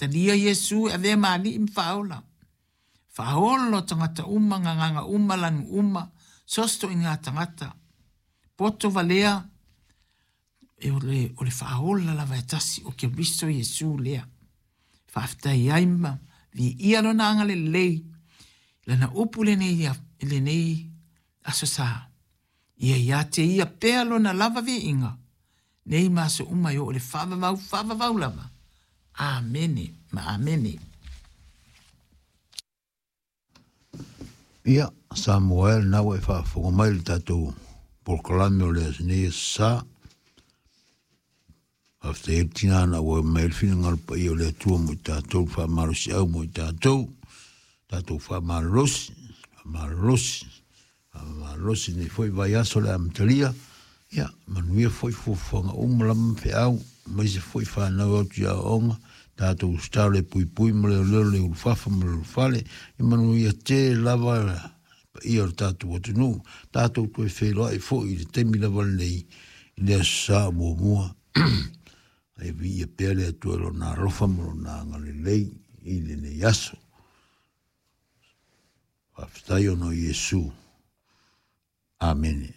Talia Iesu e avea ma Alii ma Faaola. Faaola o tagata uma, gagaga uma, lanu uma, so o se toaiga tagata. Poto valea, e o le, o le faaola lava e tasi o Keriso Iesu lea. Faafetai ai ma viia lona agalelei lana upu lenei, lenei aso sa. Ia ia te ia pea lona lava viiga, nei ma aso uma e oo i le faavavau faavavau lava. Amene ma amene. Ia, Samoa e, lena ua e faafofoga mai i le tatou polokalame o le nei aso sa. Faafetai ai le tina na auai mai ai le finagalo paia o le Atua mo i tatou, le faamalosiau mo i tatou, tatou faamalolosi, faamalolosi, Faamalosi lenei foi vaiaso le amatalia, ia manuia foi fuafuaga uma lava ma feau, aemaise foi fanau e o atu i aoaoga, tatou tatalo e puipui ma leoleo le ulufafa ma le ulufale, ia manuia tele lava le paia o le tatou atunuu, tatou toe feiloai foi i le taimi lava lenei i le Aso Sa o muamua. Ae viia pea le Atua i Lona alofa ma Lona agalelei i lenei aso. Faafetai ona o Iesu. Amene.